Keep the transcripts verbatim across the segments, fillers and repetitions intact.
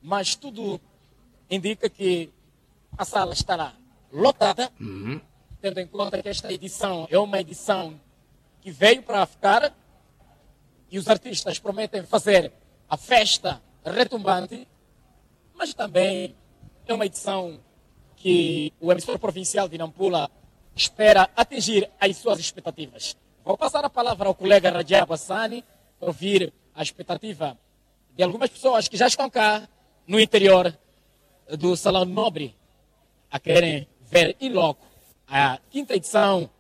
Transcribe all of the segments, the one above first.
Mas tudo indica que a sala estará lotada, tendo em conta que esta edição é uma edição que veio para ficar e os artistas prometem fazer a festa retumbante, mas também é uma edição que o emissor provincial de Nampula espera atingir as suas expectativas. Vou passar a palavra ao colega Rajab Hassani para ouvir a expectativa de algumas pessoas que já estão cá no interior do Salão Nobre a quererem ver em loco a quinta edição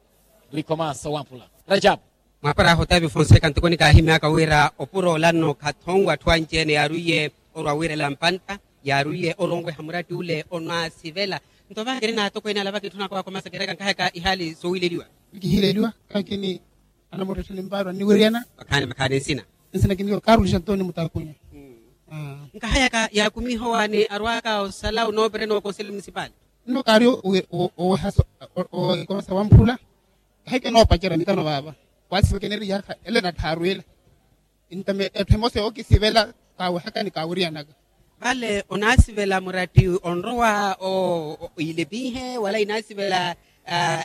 do Ikomasa Wampula. Rajab. Mwaapara ahu Otavio Fonseca, ntoko nikaahimyaka wira opuro olanno khathonwe atthu anci-ene yaarwiye orwa wiirela mpantta, yaarwiye oronweha muratti ule onwaasivela. Nto vaakiri naatokweene ala vakitthuna kwakomasa kereka nkahayaka ihaali sowiileliwa. Nkihileliwa kakini anamuretta nimparwa niwiriyana. Makhaani makhaani nsina. Nsina kiniwo karuli xantoni mutakunya. Nkahayaka yaakumiha owaani arwaka osala onoopereni wa konseli munisipali. Nno kaari oweha ikomasa wamphula. Kahike noopacerya mitano vaava. Waasiva kiniriyaka ele natthaaru ila. Ntame etthu emosa yookisivela kaawehaka ni kaawiriyanaka. Vale onaasivela muratti onrowa iilepihe wala inaasivela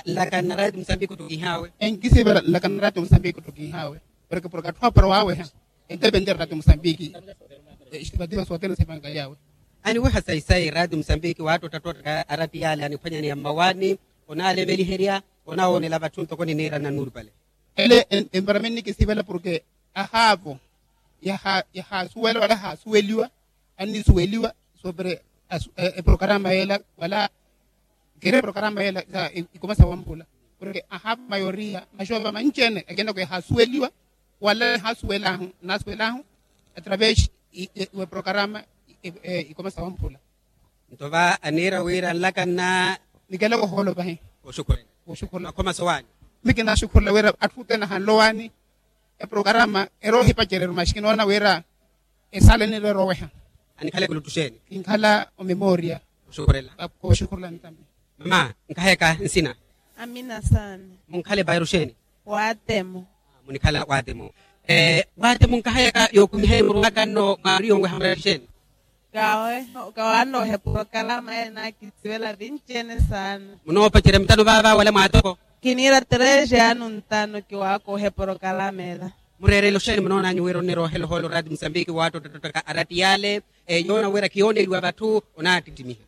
nlaka nna rati musambiki ottokihawe? Enkisivela nlaka nna rati musambiki ottokihawe. Porke porke atthu apara waaweha entepente rati musambiki. Estivativo sootene sepankalyawe. Aniweha sayi sayi rati musambiki waattotta ttotta arati yale aniphwanyaneya mmawaani. Onaalemeliherya onawoonela vatthu ntoko niniira nannuurupale. Ele envarameni nikisivela porke ahaavo yahaasuwela wala ahaasuweliwa annisuweliwa. Sopere eprokarama yela wala kiri eprokarama yela sa ikomasa wamphula. Porke ahaavo mayoriya maxoova manci-ene akina ko yahaasuweliwa wala nihaasuwelahu naasuwelahu atravesi weprokarama ikomasa wamphula. Nto va aniira wira nlaka nna. Nikelaka ohoolo pahi. Oxukhurela. Oxukhurela makhomaso waani. Mikinaxukhurela wira atthu othene ahanle owaani. Eprokarama eroohipacereryo maxi kinoona wira esala enireera oweha. Anikhaleke oluttu xeeni? Kinkhala omemoria. Oxukhurela. Oxukhurela ntambi. Mama nkahayaka nsina? Amina saana. Munkhale vairu xeeni? Waatemo. Munikhala waatemo. Waatemo nkahayaka yookumiha emuruwaka nno mwaari yonweha murari xeeni? Kawaanooha eporokarama ela naakitsivela vinci-ene saana. Munoopacerya mitano vaava wala mwaatoko? Kiniira treze anu ntano kiwaakooha eporokarama ela. Mureerele oxeeni munoonanyu wira onnirohela ohoolo rati musambiki waattotta ttottaka arati yale? Yoona wira khiyooneliwa vatthu onaattittimiha.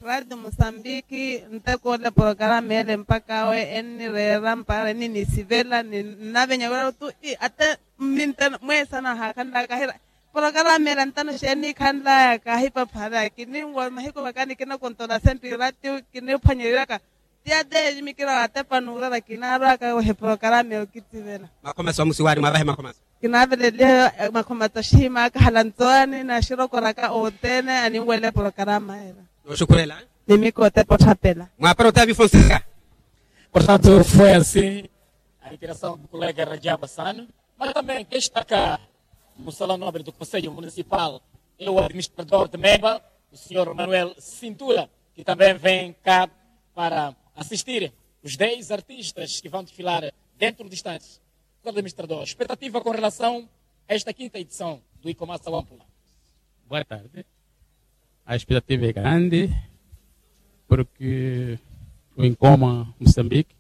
Rati musambiki ntekoola eporokarama ele mpakha awe ennireera mpara enninisivela ninavenya wira tu. Ate mminta mweesana haakhanlaya kahira eporokarama ele ntano xeeni nikhanlaya kahipaphara kininwa mahiku vaka nikinakontola sempirati kiniphwanyeryaka. Ti ate ejimikira watepa nuurara kinaarwaka weha eporokarama yookitsivela. Makhomaso amusiwaari mwavahe makhomaso. Kinaaveleliha makhomato axihimaka hala ntsowaani naxirokoraka othene aninwela eporokarama ela. Nooxukhurela. Nimikotepa otthapela. Mwaapara otavio fonseca. Portanto foi assim a interação do colega rajaba sano, mas também quem está cá no salão nobre do conselho municipal é o administrador de meba, o senhor manuel cintura, que também vem cá para assistir os dez artistas que vão desfilar dentro de instantes. Senhor administrador, expectativa com relação a esta quinta edição do icomassa wampula? Boa tarde. A expectativa é grande porque o incoma moçambique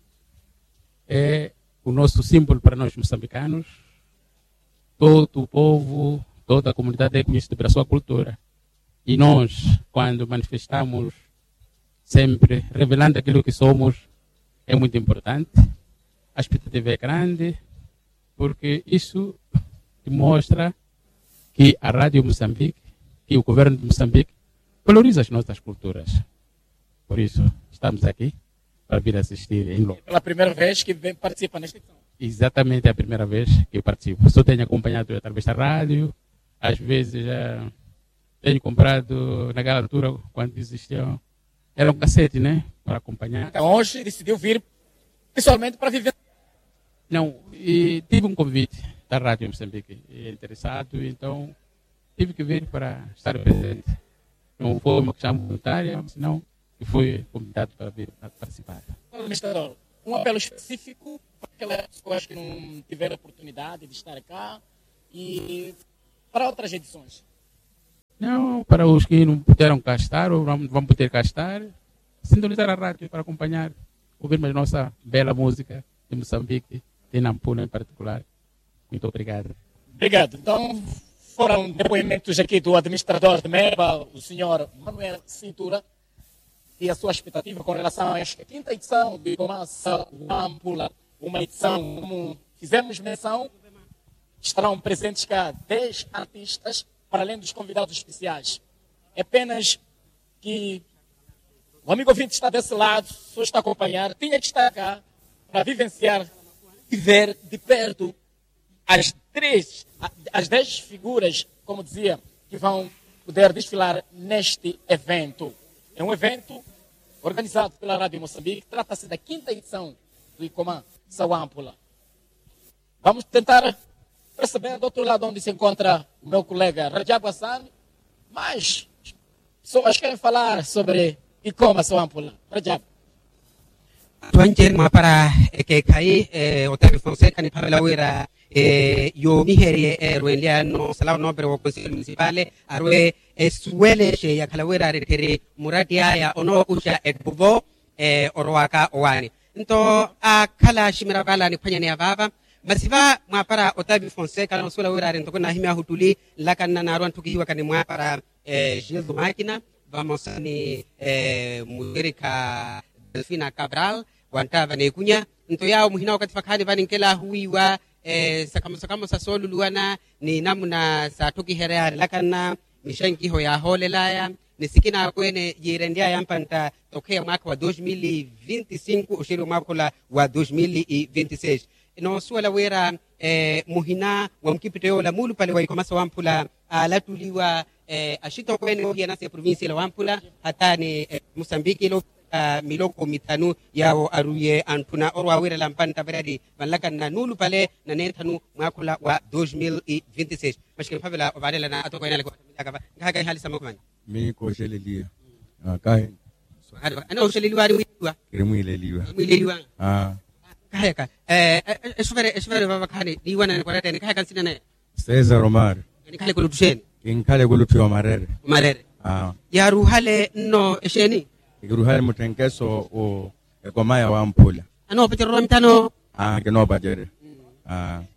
é o nosso símbolo para nós moçambicanos. Todo o povo, toda a comunidade é conhecido pela sua cultura. E nós, quando manifestamos sempre revelando aquilo que somos, é muito importante. A expectativa é grande porque isso demonstra que a rádio moçambique, que o governo de moçambique valoriza as nossas culturas. Por isso estamos aqui para vir assistir em loco. Pela primeira vez que vem participa nesta edição? Exatamente, é a primeira vez que participo. Só tenho acompanhado através da rádio, às vezes já tenho comprado naquela altura quando existiam, era um cassete, né, para acompanhar. Então hoje decidiu vir pessoalmente para viver? Não, e tive um convite da rádio moçambique, interessado, então tive que vir para estar presente. Não foi uma questão voluntária, senão que fui convidado para vir participar. Administrador, um apelo específico para aquelas pessoas que não tiveram oportunidade de estar cá e para outras edições? Não, para os que não puderam cá estar ou não vão poder cá estar, sintonizar a rádio para acompanhar, ouvir mais nossa bela música de Moçambique, de Nampula em particular. Muito obrigado. Obrigado. Então, foram depoimentos aqui do administrador de Meba, o senhor Manuel Cintura, e a sua expectativa com relação a esta quinta edição de Começa o Ampula, uma edição, como fizemos menção, estarão presentes cá dez artistas, para além dos convidados especiais. É apenas que o amigo ouvinte está desse lado, só está a acompanhar, tinha que estar cá para vivenciar e ver de perto as três, a- as dez figuras, como dizia, que vão poder desfilar neste evento. É um evento organizado pela Rádio Moçambique, trata-se da quinta edição do Icomá Sawampula. Vamos tentar perceber do outro lado onde se encontra o meu colega Rajab Hassan, mas pessoas querem falar sobre Icomá Sawampula. Rajab. Twancer mwapara ekekhayi, otavi fonseca niphavela wira yoomiherye erwenlyano salawo noopere wa conselho municipale arwe esuwele xeya khala wira arettheri muratti aya onookuxa ettuvo orowaka owaani. Nto akhala aximira vaala niphwanyaneya vaava masi va mwapara otavi fonseca noosuwela wira ari ntoko naahimyahu ttuli nlakanna naaru anttukihiwaka ni mwapara jesu makina vamosa ni muxerikha delfina cabral wanttava neekunya. Nto yaawo muhina wakathi vakhaani vaninkela ahuwiiwa sakhamosa khamosa sooluluwana ni namuna saattukiherya nlakanna mixenkiho yaahoolelaya ni sikina akweene yiirenlyaya mpantta tokheya mwaakha wa dos mil e vinte cinco oxeeriwa mwaakha ola wa dos mil e vinte seis. Noosuwela wira muhina wa mukipitto yoola muulupale wa ikhomasa wamphula aalattuliwa axitokweene oohiyanasa eprovincia ila wamphula hataani musambiki ila miloko mithanu yaawo arwiye antthuna orwa awiirela mpantta variyari vanlakanna nuulupale na neethanu mwaakha ola wa dos mil e vinte seis. Maxikini phavela ovaarelana atokweene ale kootamilaka va nkahaka ihaali sa makhumani. Miiko oxeleliya. Kahi. Anooxeleliwa ari mwiiliwa? Kiri mwiileliwa. Mwiileliwa. Kahayaka. Exuvere exuvere vavakhaani niiwanani kwarateni kahayaka nsina naye? César omar. Nikhale kulutthu xeeni? Kinkhale kulutthu ya omarere. Omarere. Yaaruhale nno exeeni? Kiruhale mutthenkeso ekoma ya wamphula. Anoopacererya mithano? Kinoopacererya.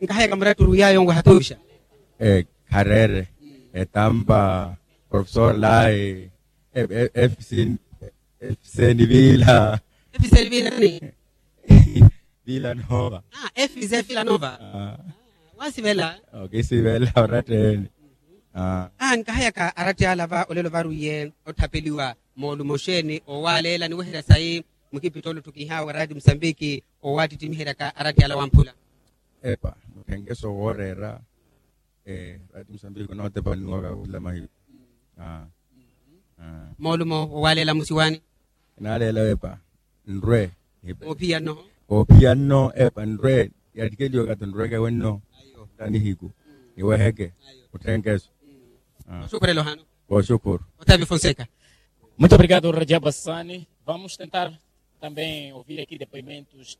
Nkahayaka muratturu yaayo nwaha tuuxa? Khareere. Etampa professor lai. Efiseni vila. Efiseni vila nani? Vila nova. Efiseni vila nova. Wasivela? Okisivela oratteni. Nkahayaka aratti ala va olelo varwiye otthapeliwa moolumo xeeni owaaleela niweherya sayi mukipitto olutthukihawe raati musambiki owaattittimiheryaka aratti ala wamphula? Epa mutthenkeso wooreera. Raati musambiki onootepa nnuwaka wula mahiku. Moolumo owaaleela musiwaani? Enaaleela wepa nrwe. Oophiya nno? Oophiya nno epa nrwe. Yattikeliwe kato nrweke wenno. Tanihiku niweheke. Mutthenkeso. Oxukhurela ohano. Oxukhuru. Otavi fonseca. Muito obrigado rajab assani. Vamos tentar também ouvir aqui depoimentos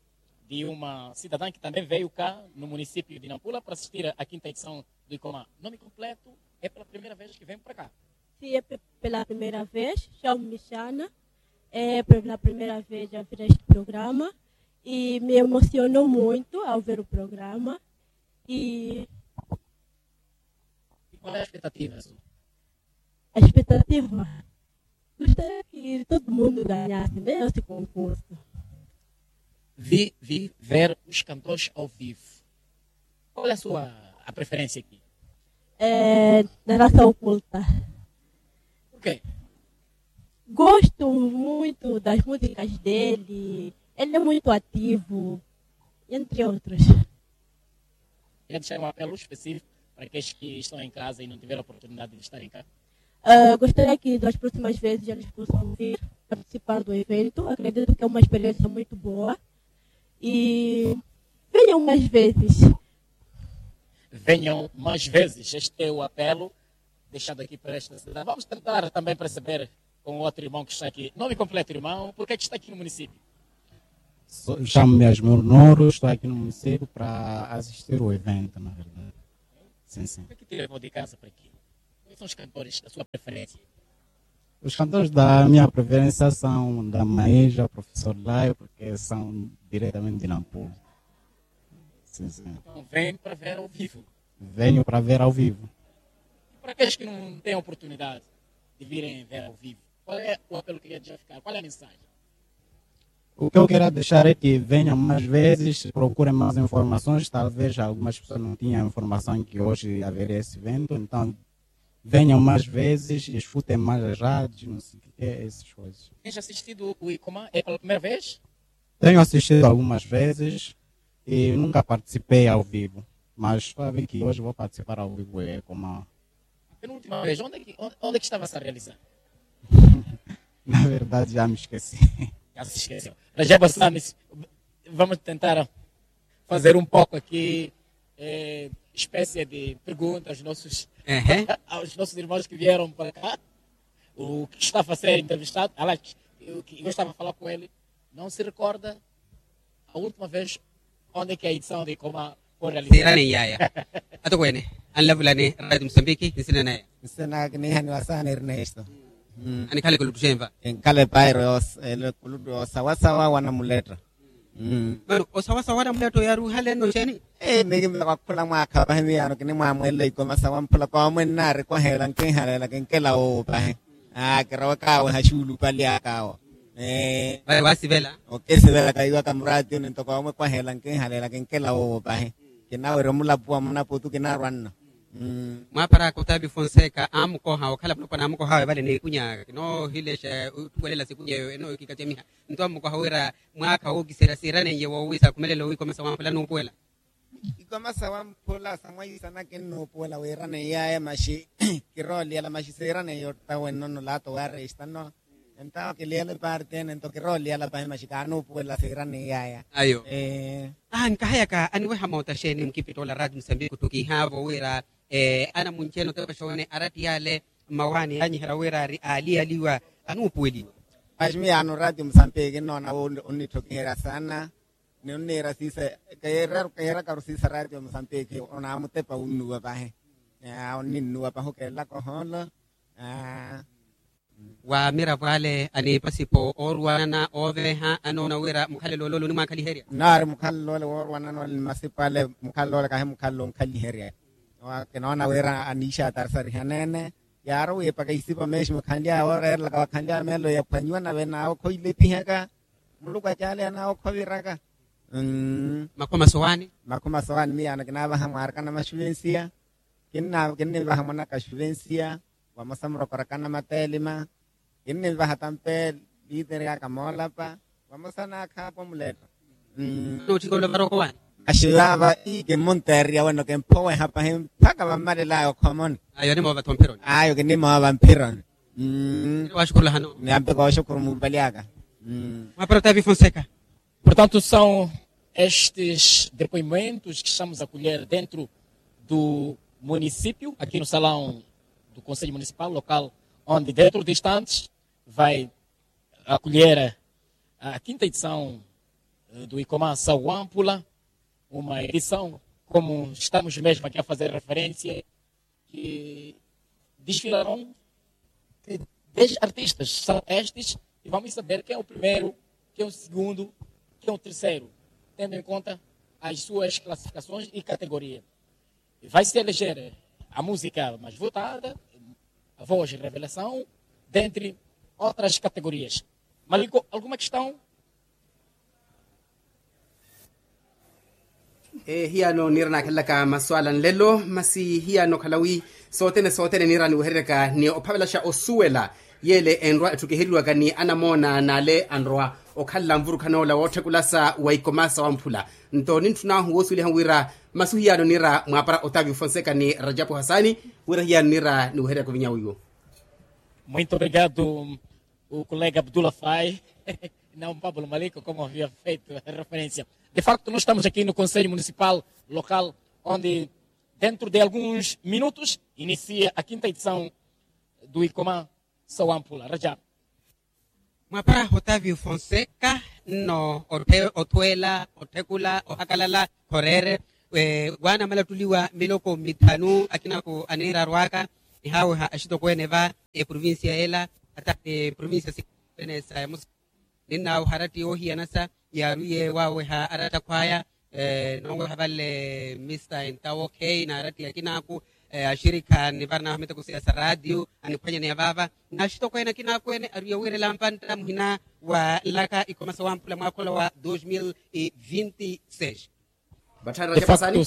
de uma cidadã que também veio cá no município de nampula para assistir a quinta edição do icomá. Nome completo? É pela primeira vez que vem para cá? Sim, é pela primeira vez. Chamo-me xana. É pela primeira vez a ver este programa e me emocionou muito ao ver o programa. E qual é a expectativa? A expectativa? Gostaria que todo mundo ganhasse mesmo esse concurso. Vi vi ver os cantores ao vivo. Qual é a sua a preferência aqui? É da raça oculta. Porquê? Gosto muito das músicas dele. Ele é muito ativo, entre outros. Quer deixar um apelo específico para aqueles que estão em casa e não tiveram a oportunidade de estarem cá? Gostaria que das próximas vezes eles possam vir participar do evento. Acredito que é uma experiência muito boa. E venham mais vezes. Venham mais vezes. Este é o apelo deixado aqui para esta cidade. Vamos tentar também perceber com o outro irmão que está aqui. Nome completo, irmão? Por que que está aqui no município? Chamo-me Asmir Noro, estou aqui no município para assistir o evento, na verdade. Sim, sim. Por que que te levou de casa para aqui? São os cantores da sua preferência? Os cantores da minha preferência são da Maija, Professor Lai, porque são diretamente de Nampula. Sim, sim. Então, vem para ver ao vivo. Venho para ver ao vivo. Para aqueles que não têm oportunidade de virem ver ao vivo, qual é o apelo que queria deixar ficar? Qual é a mensagem? O que eu quero deixar é que venham mais vezes, procurem mais informações. Talvez algumas pessoas não tinham informação que hoje haveria esse evento, então venham mais vezes, escutem mais as rádios, não sei o que é, essas coisas. Tens assistido o Icomá? É pela primeira vez? Tenho assistido algumas vezes e nunca participei ao vivo, mas estou a ver que hoje vou participar ao vivo e como a penúltima vez, onde é que, onde, onde é que estava-se a realizar? Na verdade, já me esqueci. Já se esqueceu. Rajab Hassani, vamos tentar fazer um pouco aqui, eh, espécie de pergunta aos nossos, aos nossos irmãos que vieram para cá. O que estava a ser entrevistado, aliás, eu, eu estava a falar com ele, não se recorda a última vez onde é que a edição de Icomá foi realizada? Sirani yaya. Atokwene, anlavulani radio Msambiki, nsina naya. Nsina kinihaniwa sana Ernesto. Anikhale kulutuxenva. Enkale pairo kulutu osawasawa wana muletta. Mano osawasawa wana muletta yaruhale no xeni. Mikimba kwakhula mwakha pahi miyano kinimwamwelela Icomá sawa mphula kwamwe nnaari kwahela nkinhalela kinkela wowo pahi. Kirawaka awe haxuulupali aka awo. Vale wasivela. Okesivela kayiwaka muraatiyo nento kwamwe kwahela nkinhalela kinkela wowo pahi. Kinawerya omulapuwa munaputu kinarwa nno. Mwaparaka otavi fonseca amukoha okhala mulopwana amukoha awe vale n'ikunya kinoohilexa otthuwelela sikunya eyo enookikacamiha. Nto amukoha wira mwaakha wookiserya siiraneiye woowisa akhumelela owikomesa wamphula nuupuwela. Ikomasa wamphula samwaisana kinnuupuwela wiiraneiyaya maxi kirooliyala maxi siiraneiya ottawe nno nolaato waaresta nno. Entawo kiliyala eparti ene nto kirooliyala pahi maxi kaanuupuwela siiraniyaya. Ayo. Ankahayaka aniweha moota xeeni mukipitoola raati musambiki ottukihaavo wira anamunci-ene otepexa wene arattiyale mmawaani yaanyiherya wira ari aaliyaliwa anuupuweliwa. Maxi miyaano raati musambiki nnoona onnittokiherya saana. Ni onniira siisa keerakaru siisa raati omusambiki onaamutepa wunnuwa pahi. Onninnuwa pahi okeelaka ohoolo. Wa miravo ale aniipasipo ooruwanana ooveeha anoona wira mukhalelo ole onimwaakhaliherya. Naari mukhalelo ole woorwanana ole ni masipo ale mukhalelo ole kahi mukhalelo onkhaliherya. Kinoona wira aniixatarisarihaneene. Yaari wiipaka isipo meeximu khanly'aya wooreerelaka wa khanly'aya meelo yaphwanyiwa nave naawe khoilepihaka. Muluku acaaleya naawe okhoviraka. Makhuma sowaani. Makhuma sowaani miyaano kinaavaha mwaarikana maxuvensiya. Kinnivaha mwanaka xuvensiya. Vamosa murokorakana mateelima. Kinnivaha tampe liiteryaka moolapa. Vamosa naakhaapa omuleetta. Nootthika olavaroko waani. Maxi vaava ii kimmunteeriya weno kimphoweha pahi mpakha vammalelaya okhomoni. Ayo kinimoova mphironi. Ayo kinimoova mphironi. Waaxukurulahano. Niyampika oxukuru mumpali aka. Mwaparota vifonseca. Portanto são estes depoimentos que estamos a colher dentro do município aqui no salão do conselho municipal local, onde dentro de instantes vai acolher a quinta edição do Icomá Sawampula, uma edição como estamos mesmo aqui a fazer referência, que desfilarão dez artistas são estes e vamos saber quem é o primeiro, quem é o segundo, quem é o terceiro, tendo em conta as suas classificações e categoria. Vai se eleger a música mais votada, a voz revelação, dentre outras categorias. Maliko, alguma questão? Hiyano niira naakhelelaka maswala nlelo masi hiyano khalawi sothene sothene niira niwehereryaka ni ophavelaxa osuwela yeele enrwa etthukiheriwaka ni anamoona n'ale anrwa okhalela nvurukhan'ola wootthekulasa wa ikomasa wamphula. Nto nintthun'ahu woosuweliha wira masu hiyano niira mwaapara otavi ofonseka ni rajapu hasani wira hiyano niira niwehereryaka ovinya wiwo. Muito obrigado. O colega abdullah fai, não pablo maliko como havia feito referência. De facto nós estamos aqui no conselho municipal local onde dentro de alguns minutos inicia a quinta edição do icomá. Sawampula rajab. Mwapara otavi ofonseka nno othweela otthekula ohakalala khoreere waana malattuliwa miloko mithanu akinako aniirarwaka. Nihaaweha axitokweene va eprovincia ela, hata ni provincia sikweene sa yamusa. Ninnaaweha aratti oohiyanasa yaarwiye waaweha aratta akhwaya. Nooweha vale mista entawo khei na aratti akinaaku, axirikha nivaranaahu miteko siya sa raatiyo aniphwanyaneya vaava. N'axitokweene akinaaku ene arwiye wiirela mpantta muhina wa nlaka ikoma sa wamphula mwaakhola wa dos mil e vinti seis. Vatthani rajapu asani.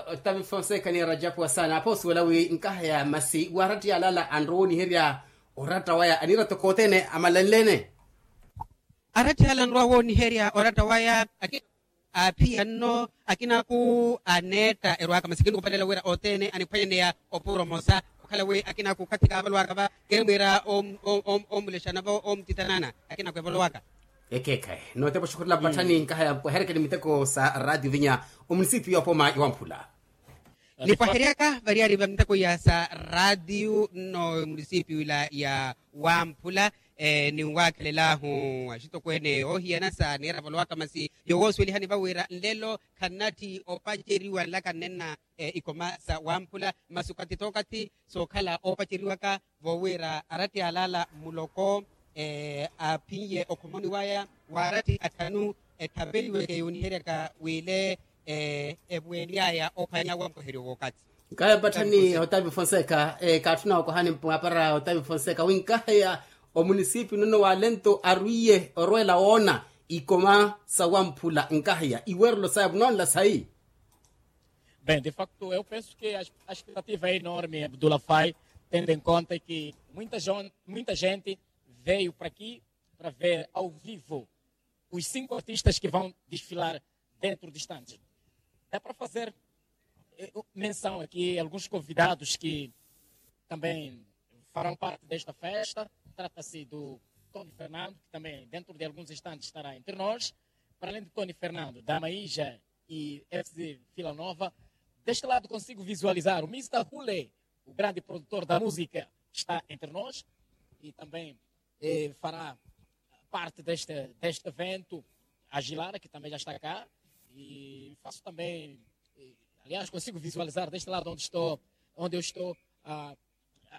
Otavi fonseca ni rajapu asani apho osuwela wi nkaha ya masi wa aratti yalala anrowa oniherya oratta waya anira toko othene amalanlene. Aratti ala anrowa wooniherya oratta waya akina aaphiya nno akinaaku aneetta erwaka masi kinukupalela wira othene aniphwanyaneya oporomosa okhala wi akinaaku okathi kaavalwaka va keemwiira omulexana va omutitanana akinaaku evalwaka. Ekeekhayi notepa oxukhurela mpatthani nkaha ya mpweherekeni miteko sa raatiyo vinya omunisipiyu ya opoma iwamphula. Nipwaheryaka variyari va miteko ya sa raatiyo nno munisipio ila ya wamphula. Ninwaakhelelaahu axitokweene oohiyana sa neera valowaka masi yowoosuwelihani va wira nlelo khannatthi opaceriwa nlaka nnenna ikoma sa wamphula masi okathi t'okathi sookhala oopaceriwaka voowira aratti alaala muloko aphinye okhomoni waya wa aratti atthanu etthapeliweke yooniheryaka wile evuweny'aya ophwanya wampoheryo w'okathi. Nkaheya mpatthani otavi fonseca kaatthuna okohani mwaapara otavi fonseca wi nkaheya omunisipi nonno wa lento arwiye orwela woona ikoma sa wamphula nkaheya iwerelo saya vunonla sayi. Bem, de facto eu penso que a expectativa é enorme abdulafai, tendo em conta que muita gente veio para aqui para ver ao vivo os cinco artistas que vão desfilar dentro de instantes. Dá para fazer menção aqui a alguns convidados que também farão parte desta festa. Trata-se do Tony Fernando, que também dentro de alguns instantes estará entre nós. Para além de Tony Fernando, Damaija e FC Vila Nova, deste lado consigo visualizar o Mister Hule, o grande produtor da música, está entre nós e também fará parte deste evento, a Gilara, que também já está cá, e faço também, aliás, consigo visualizar deste lado onde estou, onde eu estou,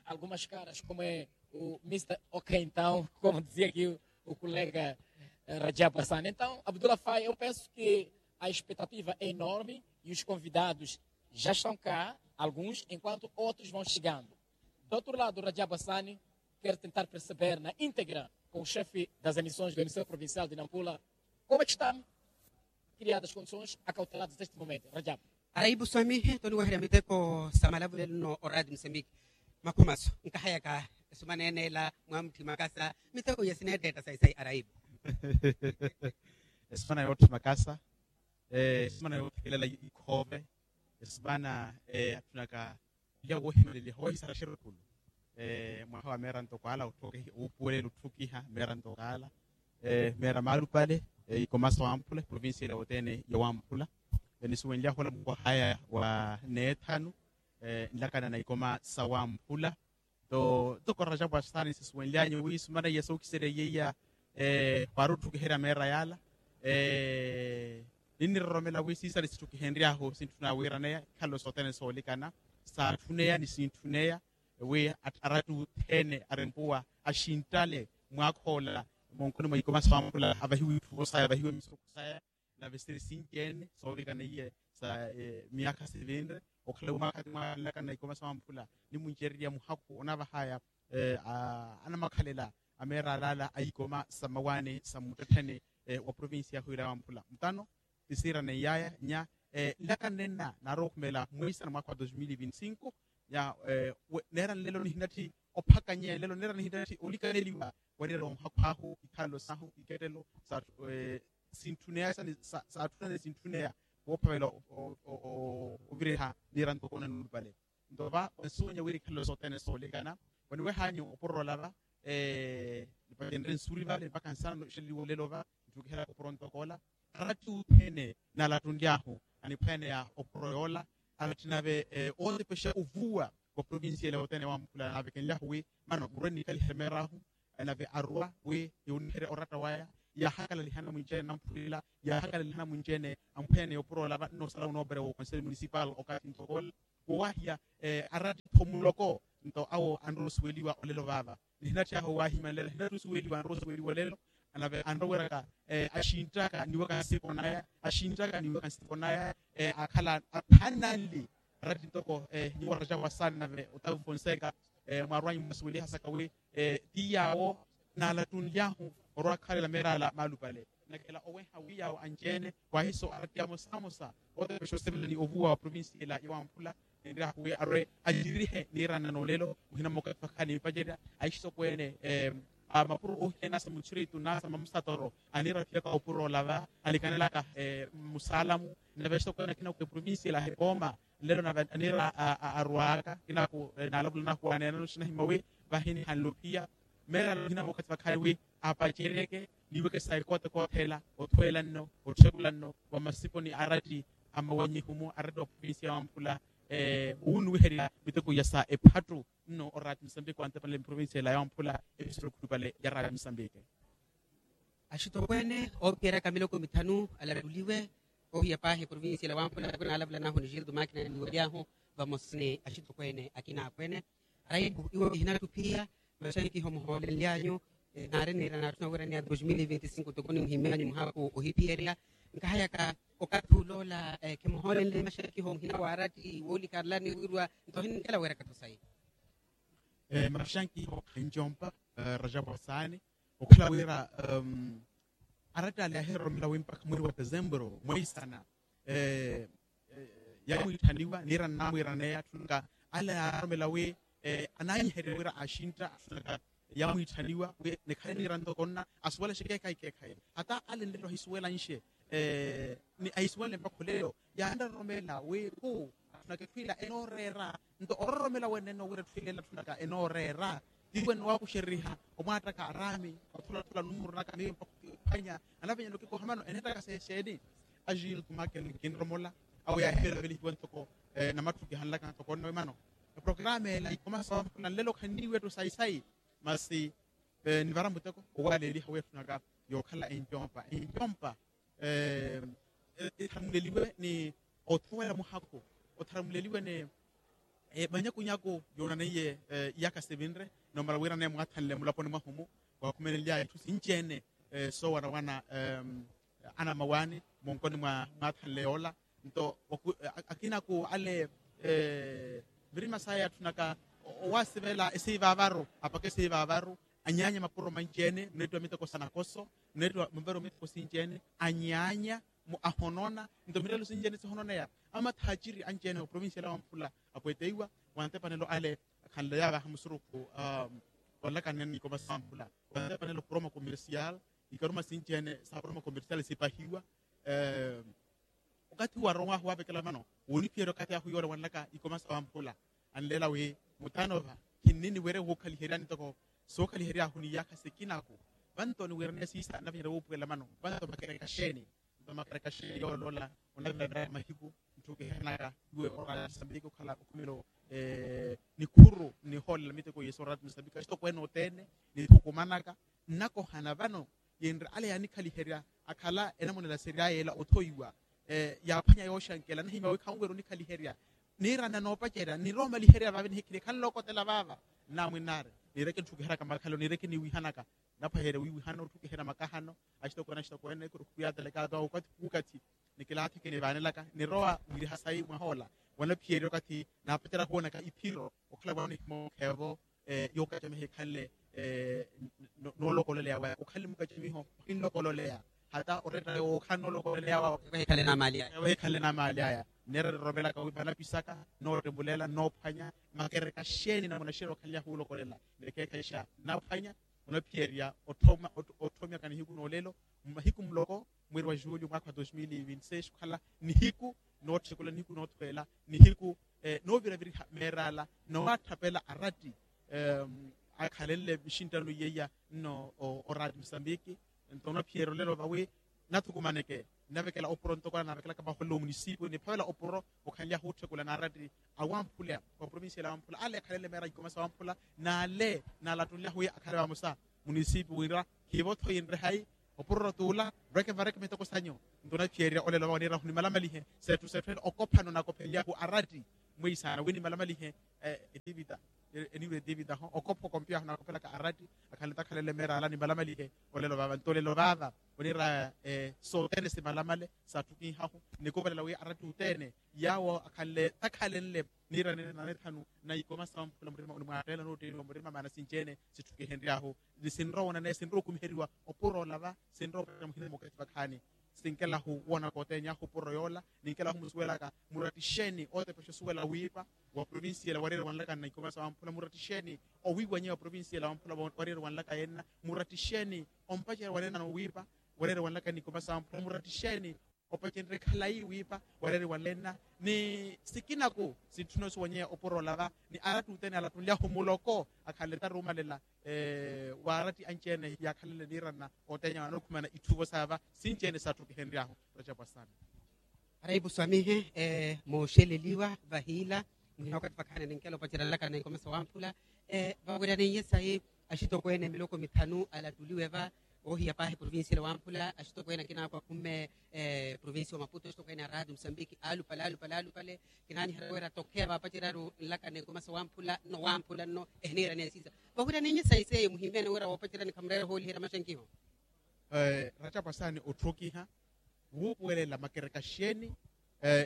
algumas caras, como é o Mister Ok, então, como dizia aqui o colega Rajab Hassan. Então, Abdulafai, eu penso que a expectativa é enorme e os convidados já estão cá, alguns, enquanto outros vão chegando. Do outro lado, Rajab Hassan quer tentar perceber na íntegra com o chefe das emissões do Emissor Provincial de Nampula como é que estão criadas as condições acauteladas neste momento. Rajab. Araibu swamihi toniweherya miteko sa malavulelo nno oraati musambiki. Makhumaso nkahayaka esumana ene ela mwamutthi makasa miteko ya sineettetta sayi sayi araibu. Esumana yootthi makasa, esumana yoothekelela ikhoove, esumana atthunaka olya woohimaleliha woohisara xirukulu. Mwaha wa meera ntoko ala otthukiha meera ntoko ala, meera maalupale, ikoma sa wamphula provincia ila yothene ya wamphula. Nisuwenly'ahu ola mukwahaya wa neethanu nlakana na ikoma sa wamphula. Nto ntoko rajapu asaani sisuwenly'anyu wi sumana iya sookiserya iya, waari otthukiherya meera yaala. Ninniroromela wi siisale sitthukihenry'ahu sintthuna wiiraneya ikhalelo sothene soolikana, saatthuneya ni sintthun'eya wi aratti othene arempuwa axinttale mwaakha ola. Monkhoni mwa ikoma sa wamphula avahiwe itthuvo saya avahiwe misuku saya, nave siri sinci-ene soovikana iye sa myaakha sivinre okhala wi mwaakha ti mwaanlakana ikoma sa wamphula nimuncererya muhakhu onavahaya anamakhalela a meera alaala a ikoma sa mawaani sa muttettheni wa provincia yahu ila ya wamphula mutano. Tisiira neiyaya nya nlaka nnenna naarowa okhumela mwiisana mwaakha wa dos mil e vinti cinco. Nya neera nlelo nihinatthi ophakanya nlelo neera nihinatthi olikaneliwa wariira wa muhakhu ahu ikhalelo sahu ikettelo saatthuneyasa ni saatthunane sintthunaya woophavela oviriha niira ntoko onanulupale. Nto va onsuwanya wira ikhalelo sothene soolikana oniweh'anyu opuro ola va nipacenre nsuri vale mpakha nsana nixeleliwa olelo va ntthukiherya opuro ntoko ola. Aratti othene naalattunly'ahu aniphwaneya opuro yoola aratti nave ootepexa ovuwa wa provincia ela yothene wamphula naavekenly'ahu wi mano murwe nnikalihe meer'ahu nave aruwa wi yooniherya oratta waya Yaahakalaliha namwinci-ene namphurila, yaahakalaliha namwinci-ene amphwene yoopura olava nnoosala onooperewa oconselho municipal okathi nthokola. Wowahiya aratti-tho muloko nto awo anrowa osuweliwa olelo vaava. Nihinatthiyaha owahimanlela hinatthi osuweliwa anrowa osuweliwa olelo. Nave anroweraka axinttaka niwaka nsiko naya axinttaka niwaka nsiko naya. Akhala aphananli aratti ntoko nyuwa rajabu asani nave otavu fonseca mwarwanyu mwasuwelihasaka wi ti yaawo naalattunly'ahu orwakhalela meerala maalupale. Nakela oweha wi yaawo anci-ene wahiso aratti amosamosa otepexa osivela ni ovuwa wa provincia ela ya wamphula. Ninryahu wi arwe anjirihe niiranna n'olelo muhina mmoka tufakha nimpacerya. Ahisitokweene a mapuro ohiye nasa muchiritu nasa mamusatoro aniraphiyaka opuro olava anikanelaka musaalamu. Nave ahisitokweene akina ku eprovincia ela ahipooma nlelo nave anira arwaaka kinaku naalavula nahu aneenano xinahimwa wi vahi nihanluphiya. Meerala muhina mmoka tufakha wi apaceryeke niweke sa ekoote koothela othweela nno otthekula nno wa masipo ni aratti a mawanyihumu aratti wa provincia ya wamphula. Wunuwiherya miteko ya sa ephattu nno orati musambiki wantepanela miprovincia ela ya wamphula episoro khulupale ya rati musambiki. Axitokweene oophiyeryaka miloko mithanu alattuliwe ohiya paahi provincia ela wamphula naalavula nahu ni gildo makina niwelyahu vamosa ni axitokweene akina akweene. Raipu iwo kihinattuphiya maxankiho muhoolenlyanyu naari niira naatthuna wiiraniya dos mil e veinti cinco toko nimuhimmyanyu muhaaku ohiphiyerya. Nkahayaka okathi oloola khimuhoolenle maxankiho muhina waaratti woolikarlani wiirwa nto hinkela weerakatho sayi. Maxankiho khanjompa rajabu asaani okhala wira aratti ale ahiromelowi mpakha mweri wa desembro mweisana yamwiitthaniwa niira nnamwiiraneya atthunaka ale aaromela wi anaanyiherya wira axintta atthunaka yamwiitthaniwa wi nikhale niira ntoko nna asuwalexe keekhayi keekhayi hata ale nlelo ahisuwelanxe ni ahisuwale mpakha olelo yaanroromela wi khu atthunaka etthwila enooreera nto ororomela wenene owira etthwila ela atthunaka enooreera tiiwe nnowakuxeriha omwaattaka araami othulathula numuru naka miyo mpakha ophwanya anaphenyana okikoha mano eneettaka sexeeni. Agildo makina kinromola awo yaahivelavelihiwe ntoko namatthu kihanlaka ntoko nnawe mano eprograma ela ikoma sawamphula nlelo khanniiwe ettu sayi sayi masi nivara muteko owaleeliha wi etthunaka yookhala encompa encompa etharamuleliwe ni othowela muhakhu otharamuleliwe ni manyakunyaku yoonaneiye iyaka sivinre nomala wiirane mwaathanle mulaponi mwahumu waakhumenelya itthu sinci-ene soowanawana anamawaani munkoni mwa mwaathanle yoola nto akinaku ale mirima saya atthunaka owaasivela esiivavaru apaka esiivavaru anyaanya mapuro manci-ene muneettiwa miteko sa nakoso muneettiwa muvero miteko sinci-ene anyaanya ahonona nto mireelo sinci-ene sihononeya amathaaciri anci-ene oprovincia ela wamphula apwetteiwa wantepanelo ale akhanleya vaha musurukhu onlakanene ni ikoma sa wamphula wantepanelo promo commercial ikaruma sinci-ene sa promo commercial sipahiwa okathi warowahu waavekela vano wooniphiyerya okathi ahu yoola wanlaka ikoma sa wamphula anleela wi mutanova khinnini wira wuukhaliheryani ntoko sookhaliheryaahu ni iyaakha sikinaku vanto niwiiraneya siisa navinyerya wuupuwela mano vanto makereka xeeni nto makereka xeeni yooloola onavilaviraka mahiku ntthukihernaka iwe oraya musambiki okhala okhumelo nikhuru nihoolela miteko yesu oraya musambiki axitokweene othene nithukumanaka nnakohana vano yenre ale yaanikhaliherya akhala enamonela seryaya ela othoiwa yaaphwanya yooxankela nahimya wi khanwera onikhaliherya niirana noopacerya niroomaliherya vaavi nihikhile khanlokotela vaava nnamwinnaari niireke ntthukiheraka makhalo niireke niwihanaka naphwaherya wiwihana otthukiherya makahano axitokweene axitokweene khuyaateleka ato awo okathi kukathi nikilaathi kinivaanelaka nirowa wiriha sayi mwahoola wanaphiyerya okathi naapacerya khuwonaka iphiro okhala vano nihimoonkha evo yookacamiha ikhanle noolokololeya waya okhanle mukacamiho ohinlokololeya hata oretta yookhanle noolokololeya waya okhanle naamaali aya neera nirovelaka wi vanapisaka noottembullela noophwanya makereka xeeni namuna xeeni okhanly'ahu wulokolela nekeekhayixa nnaphwanya onaphiyerya otthomyaka nihiku n'olelo mmahiku muloko mweri wa julho mwaakha wa dos mil e vinte seis okhala nihiku nootthekula nihiku noothweela nihiku nooviraviriha meerala noowatthapela aratti akhalenle mixinttano iyeiya nno orati musambiki nto onaphiyerya olelo vawi nathukumaneke nnavekela opuro ntoko anaavekelaka vaholela omunisipiyo niphavela opuro okhanly'ahu otthekula naaratti awamphula wa provincia ela awamphula ale akhalenle meera ikoma sa wamphula n'ale naalattunly'ahu wi akhale vamosa munisipiyo wira khiivo-tho yinre hayi opuroro t'ula, reke vareke mitoko sanyu. Nto onaphiyererya olelo vawe niirahu nimalamalihe, setthu setthu ene okophano nakophelyahu aratti. Mwiisaana wi nimalamalihe. Etivita, eniiru etivita ho okopha okompiyahu nakophelaka aratti. Akhalele takhalele meerala nimalamalihe. Olelo vava nto olelo vava, oniira sothene simalamale, satthukihahu. Nikuvalela wi aratti othene yaawo akhalele takhalenle niira nene nanethanu na ikoma sa wamphula murima onimwaattela nootteeliwa murima maana sinci-ene sitthukihenry'ahu. Ni sinrowa onaneye sinrowa okumiheriwa opuro olava. Sinrowa opatira muhina mukati vakhaani. Sinkelahu woona kooteny'ahu opuro yoola. Ninkelahu musuwelaka murattixeeni ootepesha osuwela wiipa wa provincia ela wareere wanlakani na ikoma sa wamphula murattixeeni owiiwanyeya wa provincia ela wamphula wareere wanlaka yenna. Murattixeeni ompacerya wanenano wiipa wareere wanlakani na ikoma sa wamphula murattixeeni opacenrye khalayi wiipa wareere wanlenna ni sikinaku sitthuna osuwanyeya opuro olava. Ni aratti othene alattunlyahu muloko akhalele taruumalela waaratti anci-ene yaakhalele niiranna othenya wanookhumeana itthuvo saava sinci-ene satthukihenry'ahu. Racapwasani. Araipu swamihe mooxeleliwa vahiila muhina okathi vakhaani ninkela opacerya nlakana na ikoma sa wamphula. Vawiraniye sayi axitokweene miloko mithanu alattuliwe va oohiya paahi provincia ela wamphula axitokweene akina akwa khumme provincia wa maputo axitokweene a radio musambiki aalupale aalupale aalupale. Kinaaniherya wira tokheya vaapaceryaru nlakana na ikoma sa wamphula nno wamphula nno ehiniiraneya siisa. Vawiraniye sayi seiyo muhimmene wira woopaceryani khamureere ohooliherya maxankiho. Racapwasani otthukiha wuupuwelela makereka xeeni.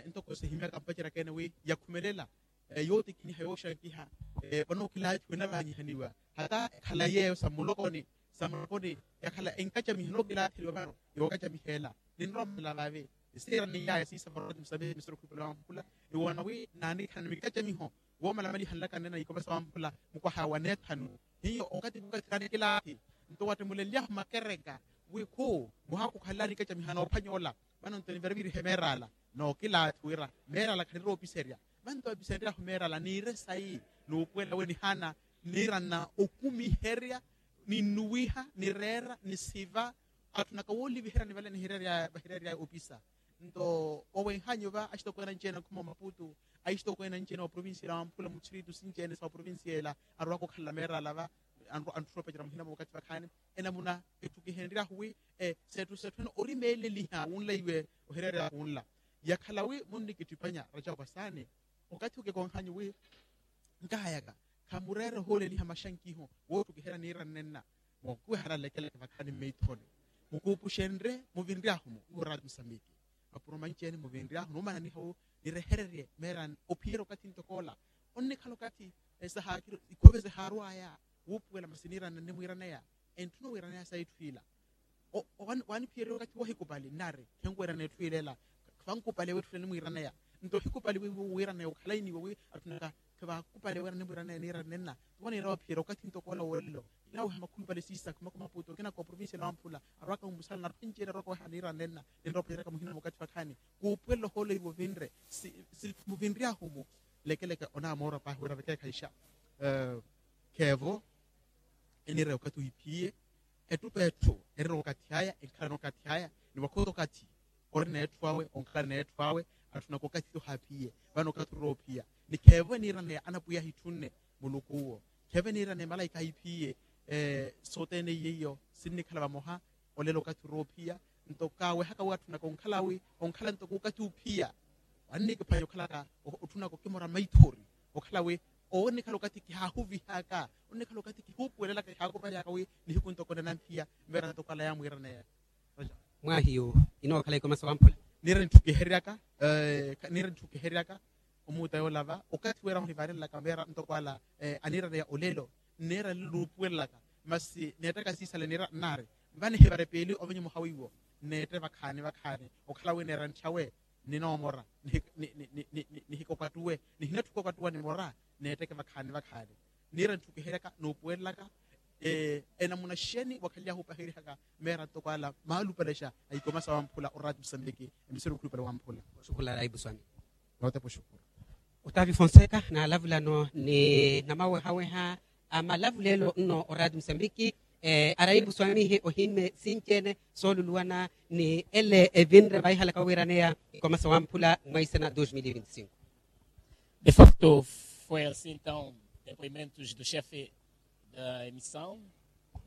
Ntoko sihimyaka mpaceryaka ene wi yakhumelela yootikiniha yooxankiha. Vano kilaathi wenavaanyihaniwa hata ekhala yeeyo sa mulokoni sa mulokoni yakhala enkacamiha nookilaatheliwa vano yookacamiha ela. Ninrowa mala vaavi. Siira niyaaya siisa varoti musamehe misiro khupela wamphula. Niwoona wi naanikhana ni mikacamiho woomalamaliha nlakana nene na ikoma sa wamphula mukwaha wa neethanu. Hiyo okathi okathi kaanikilaathi nto wattemulenlyahu makereka wi khu muhakhu okhalelani ikacamiha noophwanya ola. Vano nto nivirivirihe meerala nookilaathi wira meerala khaniroopiserya. Vanto apisenry'ahu meerala niire sayi nuupuwela wi nihaana niiranna okumiherya ninnuwiha nireera nisiva. Atthunaka wooliviheryani vale nihireery'aya vahireery'aya opisa. Nto owenhanyu va axitokweene anci-ene akhuma omaputu axitokweene anci-ene wa provincia ela wamphula muthiritu sinci-ene sa wa provincia ela arwaka okhalela meerala va. Antthuru opacera muhina mwa okathi vakhaani enamuna etthu kihenryahu wi setthu setthu ene orimeeleliha wunla iwe ohireerya wunla. Yakhala wi munnikitthipanya racapwasaani okathi okekonhanyu wi nkahayaka khamureere ohooleliha maxankiho wootthukihela niira nnenna. Mookuwehana nlekeleke vakhaani mmeithoni mukuupuxenrye muvinryahu-mo iwo raati musambiki mapuro manci-ene muvinryahu nuumananiha-wo nirehererye meerani ophiyerya okathi ntokoola. Onnikhala okathi sahaakiri ikhove sihaarw'aya wuupuwela masi niira nnenna nimwiiraneya. Entthuna owiiraneya sa itthu ila waaniphiyerya okathi woohikupali nnari khenwiirana etthu ila ela. Khankupali wetthu ila nimwiiraneya nto ohikupali wiiwo wiiraneya okhalayi niiwo wi atthunaka khevaakupali wiira nimwiiraneya niira nnenna. Tiwo niira waphiyerya okathi ntokoola wolelo ila weha makhulupale siisa khuma kumaputo kinaka oprovincia ela wamphula arwaka mmusala narwa enci-ene arwaka weha niira nnenna. Ninrowa opheryaka muhina mwa okathi vakhaani kuupuwelela ohoolo iwo vinre muvinryahu-mu. Lekeleke onamoora paahi wira vekeekhayixa kheevo eniira okathi ohiphiye. Ettupa etthu erira okathi aya enkhalana okathi aya ni wakhota okathi orina etthu awe onkhalana etthu awe. Atthunaka okathi ohaphiye vano okathi orira ophiya ni kheevo eniiraneya anapwiya ahitthunne muluku uwo. Kheevo eniiraneya malaika ahiphiye sothene iyo sinnikhala vamoha. Olelo okathi orira ophiya nto kaawehaka wi atthunaka onkhala wi onkhala ntoko okathi ophiya wannikiphwanya okhalaka otthunaka okimora maithori okhala wi onnikhala okathi kihaahuvihaka onnikhala okathi kihuupuwelelaka kihaakupalyaka wi nihiku ntoko nanamphiya mmeera ntoko ala yaamwiiraneya. Mwahiyu inookhala ikoma sa wamphula niira nitthukiheryaka niira nitthukiheryaka omuuta yoolava okathi wira onivaarenlaka mmeera ntoko ala aniiraneya olelo nneera lelo nuupuwelelaka masi neettaka siisale niira nnaari vano ehivara epeeli ovenye muha wiiwo nneette vakhaani vakhaani okhala wi neera ntthawe ninoomora nihikokattuwe nihinatthu kokattuwa nimora neetteke vakhaani vakhaani niira ntthukiheryaka nuupuwelelaka enamuna xeeni wakhalelyahu opaherihaka meera ntoko ala maalupalexa a ikoma sa wamphula oraati musambiki emisiri okhulupale wamphula. Oxukhula raipu swami. Nootepa oxukuru. Otavio fonseca naalavulano ni namawehaweha a malavulelo nno oraati musambiki araipu swamihe ohimme sinci-ene sooluluwana ni ele evinre vaihalaka owiiraneya ikoma sa wamphula mwa isena dos mil e vinte e cinco. De facto foi assim então depoimentos do chefe da emissão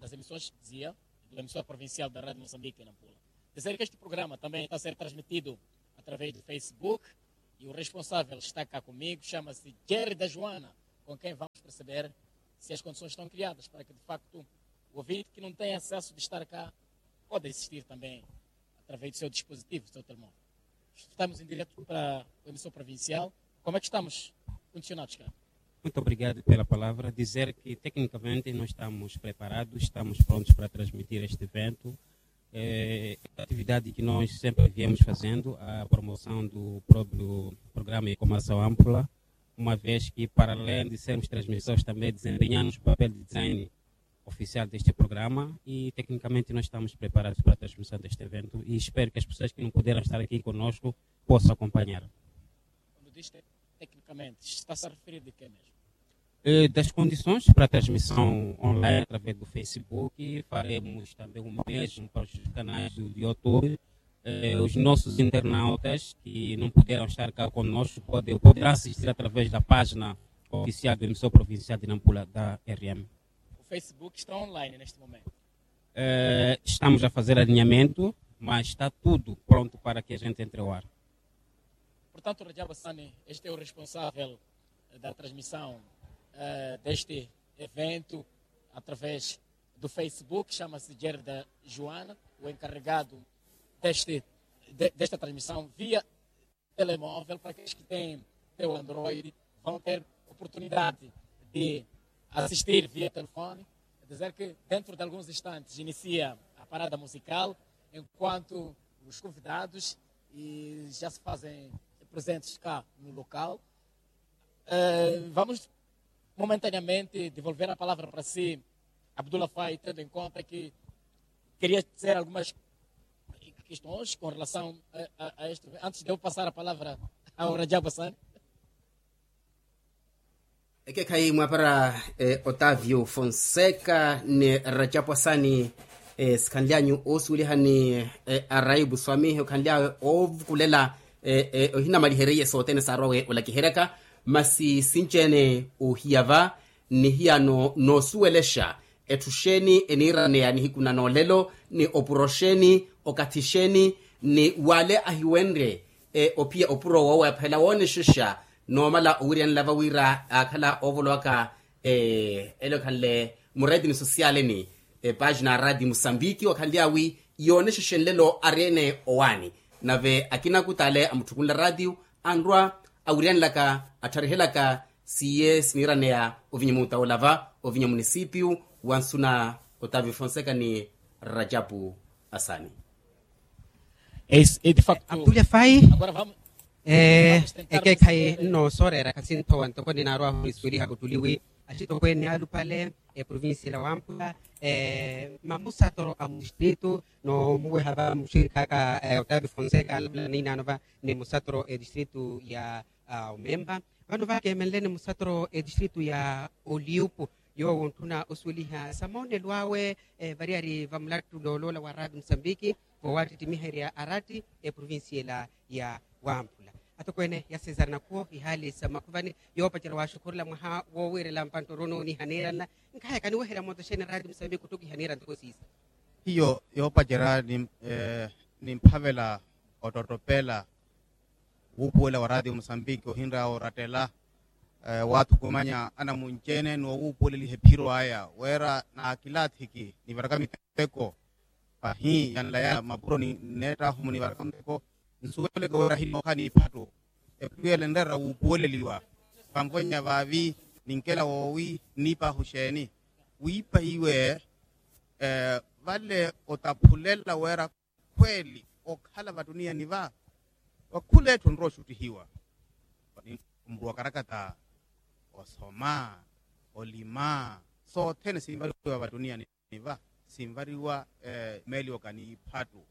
das emissões dizia do emissor provincial da radio moçambique nampula, dizer que este programa também está a ser transmitido através do facebook, e o responsável está cá comigo, chama-se jerry da joana, com quem vamos perceber se as condições estão criadas para que de facto o ouvinte que não tem acesso de estar cá pode assistir também através do seu dispositivo, do seu telemóvel. Estamos em direto para a emissão provincial. Como é que estamos condicionados cá? Muito obrigado pela palavra. Dizer que tecnicamente nós estamos preparados, estamos prontos para transmitir este evento. É a atividade que nós sempre viemos fazendo, a promoção do próprio programa Ecomação Ampla, uma vez que, para além de sermos transmissores, também desempenhamos o papel de design oficial deste programa e, tecnicamente, nós estamos preparados para a transmissão deste evento e espero que as pessoas que não puderam estar aqui conosco possam acompanhar. Quando diz te-, tecnicamente, está-se a referir de quê mesmo? Eh, das condições para a transmissão online através do facebook, faremos também o mesmo para os canais do youtube. Eh, os nossos internautas que não puderam estar cá conosco podem, poderão assistir através da página oficial do emissor provincial de nampula da r m. O facebook está online neste momento? Eh, estamos a fazer alinhamento, mas está tudo pronto para que a gente entre ao ar. Portanto, Rajab Hassani, este é o responsável da transmissão, eh, deste evento através do facebook, chama-se Jerry da Joana, o encarregado deste, de, desta transmissão via telemóvel. Para aqueles que têm o android, vão ter oportunidade de assistir via telefone. Dizer que dentro de alguns instantes inicia a parada musical, enquanto os convidados e já se fazem presentes cá no local. Eh, vamos momentaneamente devolver a palavra para si, Abdullah Fai, tendo em conta que queria dizer algumas questões com relação a, a, a este. Antes de eu passar a palavra ao Rajab Hassani. Ekekhayi mwapara, eh, otavio fonseca ni rajapu asani, eh, sikhanly'anyu oosuwelihani, eh, araipu swamihi okhanly'awe oovukulela, eh, eh, ohinamaliherye sothene saarwawe olakiheryaka. Masi sinci-ene ohiya va nihiya no noosuwelexa etthu xeeni eniiraneya nihiku na noolelo ni opuro xeeni okathi xeeni ni wale ahiwenrye, eh, ophiya opuro woowephela woonexexa noomala owiryanela va wira aakhala oovolowaka, eh, ele okhanle mureeti ni sosiyaleni, eh, paaxina a raati musambiki wakhanly'awi yoonexexenlelo ari-ene owaani. Nave akina akut'ale amutthukunla raatiyu anrwa awiryanelaka attharihelaka siiye siniiraneya ovinya muutawula va ovinya munisipiyu wansuna otavi fonseca ni rajapu asani. Abdullah fai. Ekeekhayi nnoosooreera khasinthowa ntoko ninaarwahu nisuweliha kuttuliwi axitokweene alupale eprovincia la wampula, mamusatoro a mudistritu noomuweha va muxirikhaaka otavi fonseca alapula ninaano va ni musatoro edistritu ya omemba. Vano vakeemenleni musatoro edistritu ya oliupu yoowo ontthuna osuweliha sa moonelo awe variyari va mulattu looloola wa raati musambiki voowaattittimiherya araati eprovincia ela ya wampula. Atokweene ya cesar nakhuwo ihaali sa makhuvani yoopacerya waaxukhurela mwaha woowiirela mpanttoro nooniha niiranna. Nkhaye kaniweherya moota xeeni raati musambiki ottokiha niira ntoko siisa. Hiyo yoopacerya nimphavela ottottopela wuupuwela wa raati musambiki ohinrya orattela waathukumanya anamunci-ene ni owuupuweleliha ephiro aya wira naakilaathiki nivaraka miteko pahi yanla ya mapuro ni nneettahu munivaraka miteko. Nsuweleke wira hinookha n'iphattu ephiro yela enreera wuupuweleliwa. Vanvo-nya vaavi ninkela woowi nniipahu xeeni wiipahiwe vale otaphulela wira khweeli okhala vatuniyani va vakhula etthu onrowa oxuttihiwa. Omuruwa okarakata osoma olima sothene sinvariwa vatuniyani va sinvariwa meeli oka n'iphattu.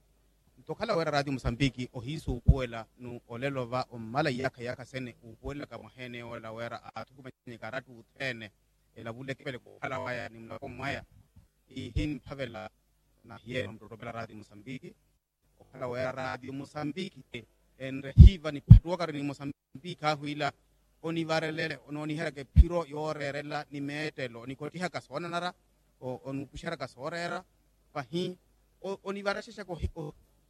Nto okhala wira raati musambiki ohiisuupuwela ni olelo va ommala iyaakha iyaakha sene uupuwelelaka mwaha ene ola wira aathukumanyeke aratta othene elavuleke vale kukhala waya ni mulako mwaya. Ihimphavela nahiyeene omuttottopela raati musambiki okhala wira raati musambiki enrehiva niphattuwaka ari ni musambiki ahu ila onivarelele onooniheryaka ephiro yooreerela ni meettelo onikottihaka soonanara onuupuxeryaka sooreera. pahi onivaraxexaka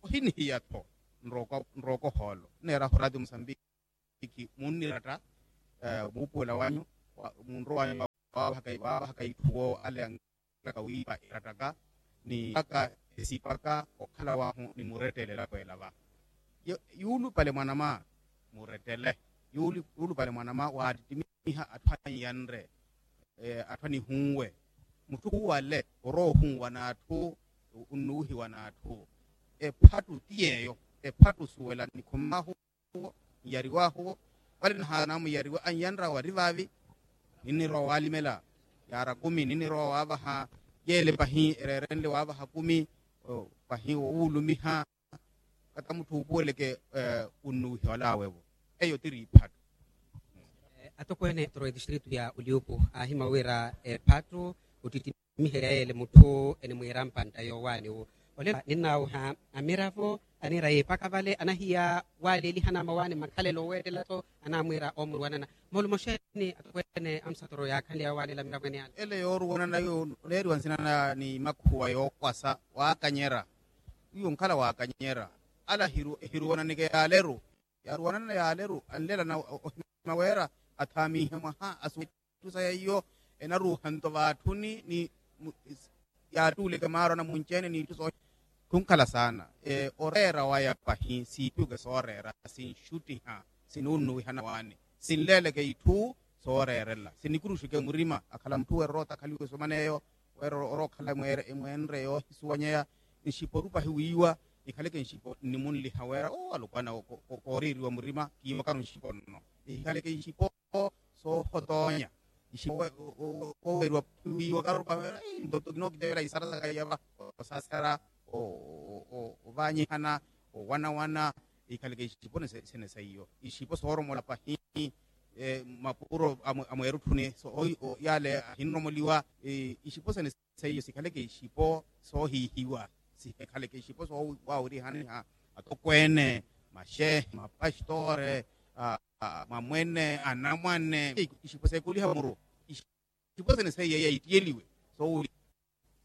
ohinihiya-tho. Nrooko ohoolo nneerahu oraati musambiki munniratta muupuwela wanyu munrowanyu waavahaka itthu woowo ale anlaka wiipa irattaka ni aka esipaka okhala wahu ni murettele elapo ela va. Yuulupale mwanama murettele yuulupale mwanama waattittimiha atthu anyanre atthu anihunwe mutthu khuwale orowa ohunwa n'atthu onnuwihiwa n'atthu. Ephattu ti yeeyo ephattu osuwela nikhumahu niyariwahu vale nahaana muyariwa anyanra wari vaavi ninnirowa waalimela yaara kumi ninnirowa waavaha yeele pahi ereerenle waavaha kumi pahi owuulumiha kata mutthu uupuweleke onnuwiha olaawe-vo. Eyo tiri iphattu. Atokweene toro etistritu ya oliupu aahimwa wira ephattu ottittimiherya yeele mutthu enimwiira mpantta yoowaani-wo. Olela ninnawuha amiravo aniira yiipaka vale anahiya waaleelihana mawaani mmakhalelo oweettela-tho anaamwiira oomurwanana. Moolumo xeeni atokweene amusatoro yaakhanly'aya waaleela amiravo ene ale. Ele yooruwanana yo oneeriwa nsina na ni makhuwa yookwasa waakanyera. Wiiwo nkhala waakanyera ala ehiruwananeke yaaleru yaaruwanana yaaleru anlelana ohima weera athaamiihe mwaha asuwele itthu saya iyo enaruuha nto vaatthuni ni yaattuuleke maaro anamunci-ene n'itthu soohina. Khunkhala saana oreera waya pahi siipiweke sooreera sinxuttiha sinuunnuwihana waani sinleeleke itthu sooreerela sinikuruxeke murima akhala mutthu weeroroota akhaliwe soman'eyo weerorookhala emweenre yoohisuwanyeya nxipo rupahi wiiwa nikhaleke nxipo nnimunliha weera oo alukwana kooriiriwa murima kiiwakaru nxipo nno nikhaleke nxipo soohotoonya nxipo wooweeriwa wiiwakaru pahi weera nto kinookitevela isara saka iyava osasera ovaanyihana owanawana ikhaleke ixipo sene saiyo ixipo sooromola pahi mapuro amweerutthuni yaale ahinromoliwa ixipo sene seiyo sikhaleke ixipo soohiihiwa sihikhaleke ixipo soowawirihaniha atokweene maxehe mapastore mwamwene anamwane ixipo seekuliha muru ixipo sene seiyo yaitiyeliwe soowiri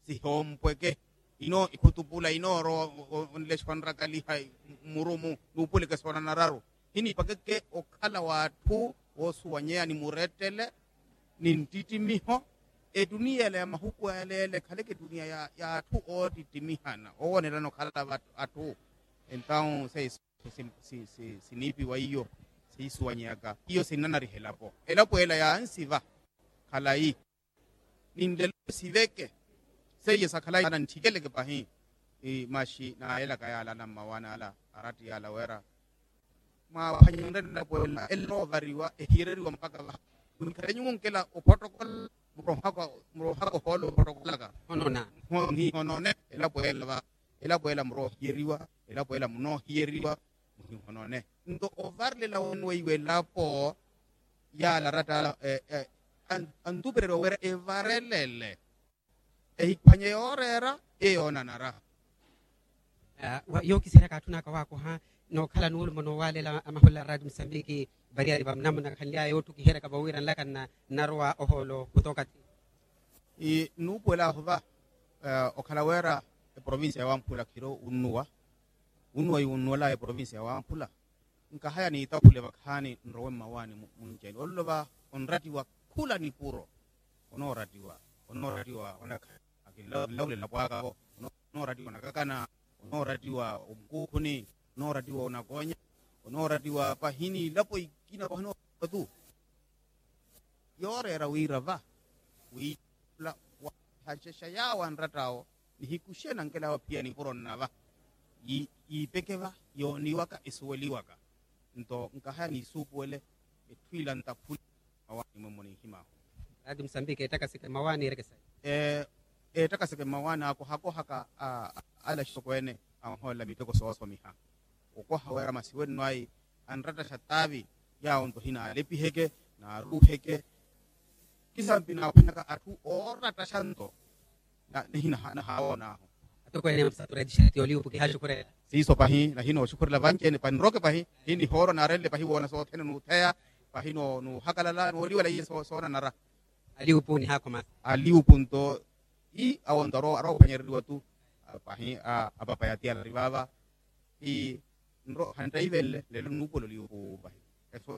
sihoompweke ino ikhutupula inoorowa onlexa onrakaliha murumu nuupuleke soonanararu hiniipakeke okhala w'atthu woosuwanyeya ni murettele ni nttittimiho etuniya ela ya mahuku aleele ekhaleke etuniya y'atthu ootittimihana oowonelana okhala atthu entawu seiso siniipiwa iyo siisuwanyeyaka iyo sinnanariha elapo elapo ela yaansiva khalayi ninlelo siveke seiye sakhalayi anantthikelleke pahi maxi naayelaka yaala anammawaani ala aratti yaala weera mwaaphwanyenrye nlapo ela ela enoovariwa ehiyereriwa mpakha vaha munikhalenyu munkela ophottokola murohaka ohoolo ophottokolaka nihonone elapo ela va elapo ela muroohiyeriwa elapo ela munoohiyeriwa muhihonone nto ovarilela wene weiwo elapo yaala aratta ala antupereriwa wira evarelele ehiphwanye yooreera eyoonanara yookiseryaka atthu naka waakoha nookhala nuulumo noowalela amahula a raati musambiki variyari vamunamuna khanly'aya yoottukiheryaka vawiira nlaka nnarowa ohoolo khutoka ti nuupuwel'ahu va okhala wira eprovincia ya wamphula khiro unnuwa unnuwa yuunnuwel'aya eprovincia ya wamphula nkahaya niitaphule vakhaani nrowe mmawaani munci-ene ololo va onrattiwa khula nipuro onoorattiwa onoorattiwa onakha akinlawulela pwaaka-vo onoorattiwa onakakana onoorattiwa omukuukhuni onoorattiwa onakoonya onoorattiwa pahini ilapo ikina pahini otu yooreera wira va wiittula waahaxexa yaawo anratt'awo nihikuxe nankela awo phiya nipuro nnava yiipeke va yooniwaka esuweliwaka nto nkahaya niisuupuwele etthu ila ntaphule mawaani mwemmo ninhim'ahu raati musambiki eettakaseke mmawaani ereke sayi eettakaseke mmawaani akohakohaka ala axitokweene anhoolela miteko soosomiha okoha wira masi wenno ayi anrattaxa taavi yaawo nto hinalepiheke naaruuheke kisampi naaphwanyaka atthu oorattaxa nto nihina nahaawon'ahu atokweene musatu reeti xerti oliupu kihaaxukhurela siiso pahi nahina oxukhurela vanci-ene panroke pahi hinihoorwa naarenle pahi woona sothene nuutheya pahi nuuhakalala nooliwela iye soonanara aliupu nihaakhoma aliupu nto ii awo nto aroophwanyereriwa tu Pahi apapa yatiyala ari vaava. Ti nro hantaivelele lelo nuupuwela oliyupu pahi.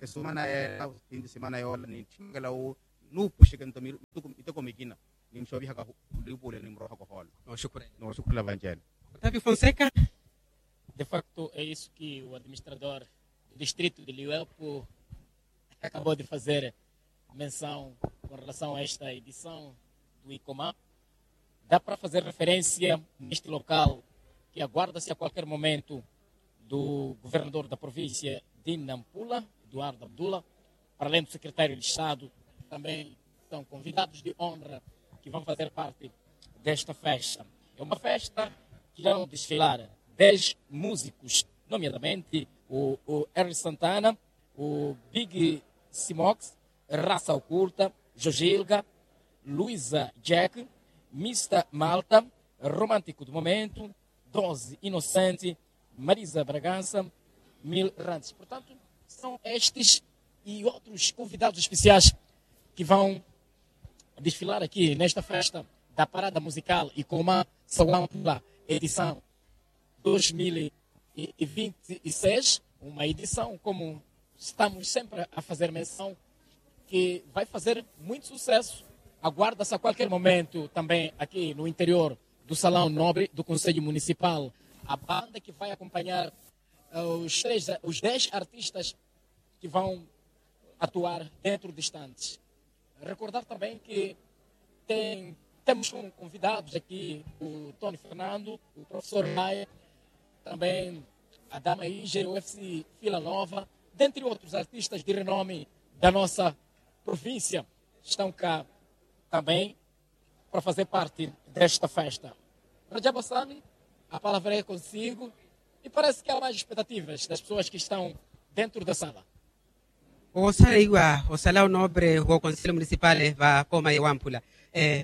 Esumana yeela sinti simana yoola nintthimekela wu nuupuxeke nto miteko mikina ninxovihaka oliyupu ole nimurohaka ohoola. Nooxukurela vanci-ene. Otavio fonseca. De facto é isso que o administrador do distrito de liuepo acabou de fazer menção com relação a esta edição do icomá. Dá para fazer referência neste local que aguarda-se a qualquer momento do governador da província de Nampula, Eduardo Abdullah, para além do secretário de Estado, também são convidados de honra que vão fazer parte desta festa. É uma festa que vão desfilar dez músicos, nomeadamente o Harry Santana, o Big Simox, Raça Oculta, Jojilga, Luisa Jack, Mista Malta, Romântico do Momento, Doze Inocente, Marisa Bragança, Mil Rantes. Portanto, são estes e outros convidados especiais que vão desfilar aqui nesta festa da Parada Musical Icomá Sawampula, edição dois mil e vinte e seis, uma edição, como estamos sempre a fazer menção, que vai fazer muito sucesso. Aguarda-se a qualquer momento também aqui no interior do Salão Nobre do Conselho Municipal a banda que vai acompanhar os três, os dez artistas que vão atuar dentro de instantes. Recordar também que tem, temos como convidados aqui o Tony Fernando, o professor Maia, também a Dama Ige, o F C Vila Nova, dentre outros artistas de renome da nossa província, estão cá também para fazer parte desta festa. Rajab Hassani, a palavra é consigo. E parece que há mais expectativas das pessoas que estão dentro da sala. Osaleiwa osala onobre wo konsele munisipale va koma yewamphula,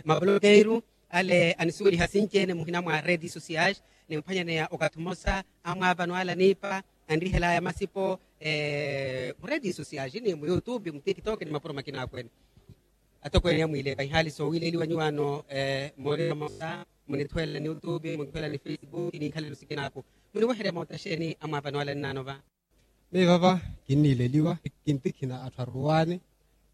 mabolokeiru ale anisuweliha sinci-ene muhina mwa redi sosiais, nimphwanyaneya okathi omosa amwaavano ale aniipa anrihelaya masipo mu redi sosiais ni mu youtube mu tiktok ni mapuro makina akweene. Atokweene amwiilepa ihaali sowiileliwa nyuwaano moolelo mosa munithuwela ni youtube munithuwela ni facebook ni ikhalelo sikinaku. Muniweherya moota xeeni amwaavano ale nnaano va? Miyo vava kinniileliwa kintikhina atthu aruwaani.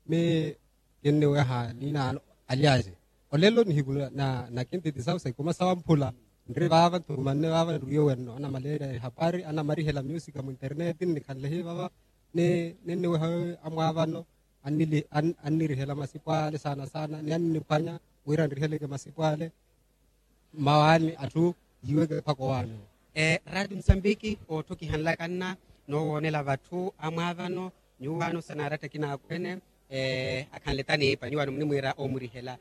Miyo kinniweha ninaano alyaace olelo nihiku na kintitisawu sa ikuma sawamphula. Nri vaava nthukumanne vaava nruwiye wenno anamaleerya ehapari anamarihela musika mu internet nnikhanle hi vava. Ni ninniweha amwaavano annirihela masipo ale saana saana ni anniphwanya wira nriheleke masipo ale. Mmawaani atthu yiiweke mpakha owaani. Raati musambiki otthokihanlaka nna noowoonela vatthu amwaavano nyuwaano sa naaratta akina akweene akhanle taniipa nyuwaano munimwiira oomurihela.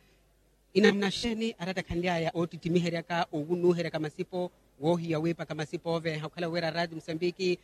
Inamuna xeeni aratta akhanly'aya oottittimiheryaka owunuuheryaka masipo woohiya wiipaka masipo ooveeha okhala wira raati musambiki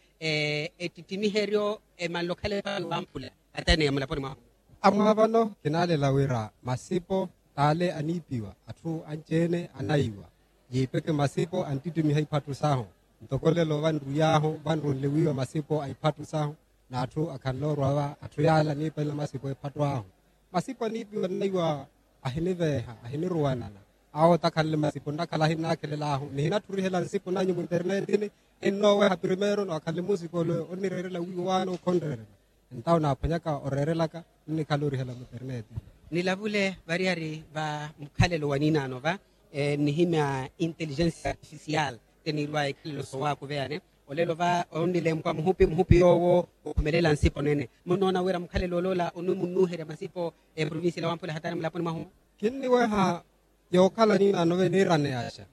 ettittimiheryo emanle okhala epala wamphula? Atene ya mulaponi mwahu. Amwaavano kinaalela wira masipo t'ale aniipiwa atthu anci-ene anayiwa yiipeke masipo anttittimiha iphattu sahu. Ntoko lelo vanruy'ahu vanrunle wiiwa masipo a iphattu sahu n'atthu akhanle orwa va atthu yaala aniipela masipo ephattu ahu. Masipo aniipiwa nnayiwa ahiniveeha ahiniruwanana. Awo otakhanle masipo nnakhala ahinnaakhelel'ahu nihinatthu orihela nsipo nanyu muinternetini. Hinnooweha primeiro nookhanle musika ole onnireerela wiiwaano khonreerela. Entawo naaphwanyaka oreerelaka nnikhala orihela muinternetini. Nilavule variyari va mukhalelo wa ninaano va nnihimya intelligence artificial teniirwaya ikhalelo sowaakuveyane. Olelo va onnilempwa muhupi muhupi yoowo okhumelela nsipo nene munnoona wira mukhalelo oloola onimunnuuherya masipo eprovincia ila wamphula hatari mulaponi mwahu? Kinniweha yookhala ninaano ve niiraneyaxa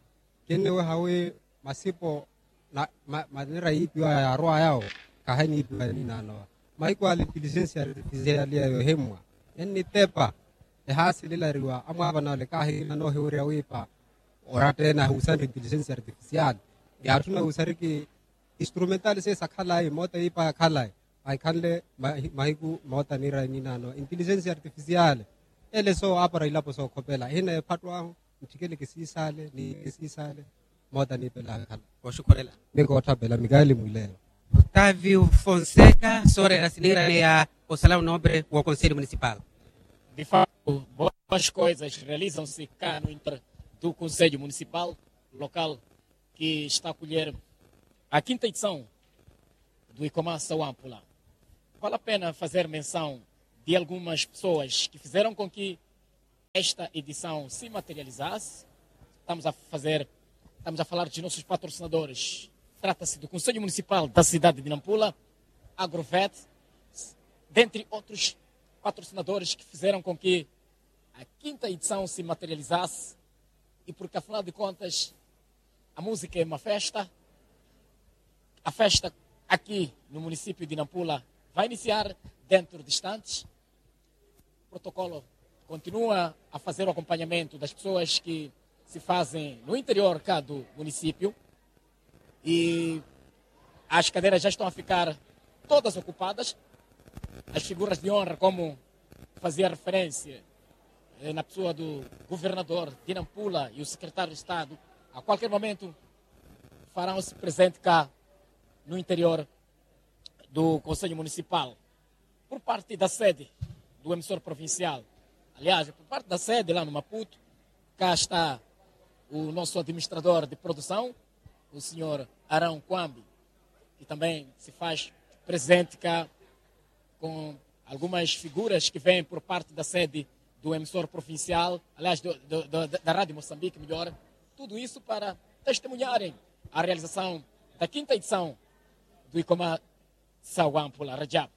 kinniweha wi masipo manira yiipiwa yaarway'awo kaheniipiwa ninaano va. Mahiku ale intilijensi artifisiali eyo ehimmwa ennitepa ehaasililariwa amwaavana ole kaahikina noohiwerya wiipa. Oratta ene ahuusanre intilijensi artifisiali. Yaatthuna wuusariki instrumentali seiyo sakhalayi moota yiipa yakhalayi. Ahikhanle mahiku moota niira ninaano intilijensi artifisiali. Ele soowaapara ilapo sookhopela ehina ephattu ahu ntthikele kisiisaale ni kisiisaale. Moota niipela akhala. Oxukhurela. Ni kootthapela mikaali mwileyo. Otavio fonseca sooreera siniiraneya osala onombre wo conselho municipal. De facto boas coisas realizam-se cá no interior do conselho municipal local. que está a acolher a quinta edição do Icomassa Wampula. Vale a pena fazer menção de algumas pessoas que fizeram com que esta edição se materializasse. Estamos a fazer, estamos a falar dos nossos patrocinadores. Trata-se do Conselho Municipal da cidade de Nampula, Agrovet, dentre outros patrocinadores que fizeram com que a quinta edição se materializasse e porque, afinal de contas, a música é uma festa. A festa aqui no município de Nampula vai iniciar dentro de instantes. O protocolo continua a fazer o acompanhamento das pessoas que se fazem no interior cá do município. E as cadeiras já estão a ficar todas ocupadas. As figuras de honra, como fazia referência, eh, na pessoa do governador de Nampula e o secretário de Estado, a qualquer momento farão-se presente cá no interior do Conselho Municipal. Por parte da sede do emissor provincial, aliás, por parte da sede lá no Maputo, cá está o nosso administrador de produção, o senhor Arão Kwambi, que também se faz presente cá com algumas figuras que vêm por parte da sede do emissor provincial, aliás, do, do, do, da Rádio Moçambique, melhor, tudo isso para testemunharem a realização da quinta edição do Icomassa Wampula, Rajab.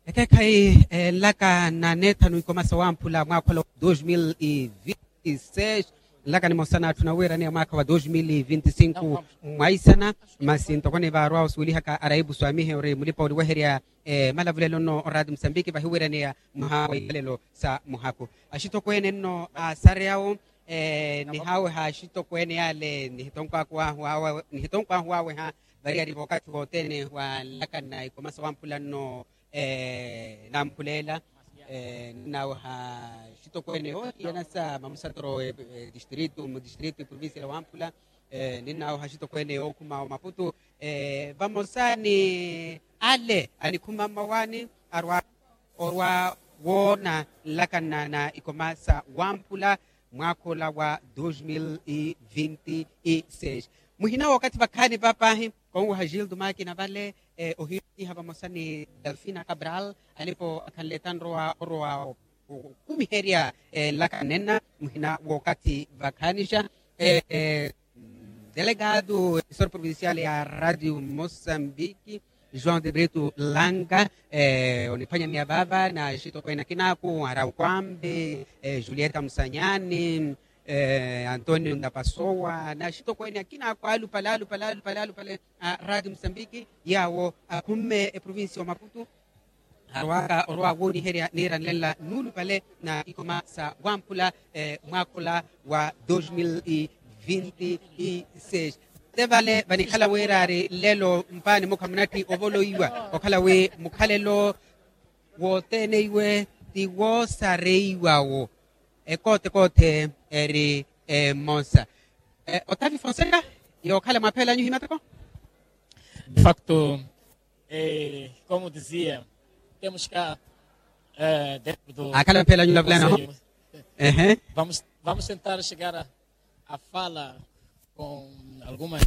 Ekeekhayi, eh, nlaka na neethanu Icomassa Wampula mwaakha ola wa dois mil e vinte e seis, nlaka nimosa n'atthu nawiiraneya mwaakha wa dois mil e vinte e cinco mwaisana. Masi ntoko ni vaarwa osuwelihaka araipu swamihe ori mulipa oliweherya, eh, malavulelo nno oraati musambiki vahiwiiraneya mwaha wa ikhalelo sa muhakhu. Axitokweene nno aasareyawo, eh, nihaaweha axitokweene yaale nihitonkwaahu waaweha variyari vookathi wothene wa nlaka na Icomassa Wampula nno, eh, namphuleela, eh, ninnaweha axitokweene yoohiyana sa mamusatoro, eh, distrito mu distrito provincia ya Wampula, eh, ninnaweha axitokweene yookhuma omaputu, eh, vamosa ni ale anikhuma mmawaani arwa orwa woona nlaka na Icomassa Wampula mwaakha ola wa dois mil e vinte e seis. Muhina wookathi vakhaani papaahi konwaha gildo makina vale, eh, ohiiha vamosa ni delfina cabral alipo akhanle tanrowa orowa okumiherya, eh, nlaka nenna muhina wookathi vakhaanixa, eh, eh, delegado emissor provincial ya radio moçambique, joão de brito langa, eh, oniphwanyaneya vaava na axitokweene akinaaku araukwambi, eh, julieta musanyani, eh, antonio ndapasowa na axitokweene akinaaku alupale alupale alupale alupale a radio moçambique yaawo akhumme eprovincia omaputu arwaka orwa wooniherya niiranlela nuulupale na Icomassa Wampula, eh, mwaakha ola wa dois mil e vinte e seis. Te vale vanikhala wiiraari lelo mpaani mukha munatti ovoloiwa okhala wi mukhalelo wothene iwe ti woosareiwawo ekoote koote eri emosa. Eh, otavi fonseca yookhala mwaapheelanyu himateko. De facto, eh, como dizia, temos cá, eh, dentro do akhala mphela nyula vulana ho. Ehe. Vamos, vamos tentar chegar a, a fala com algumas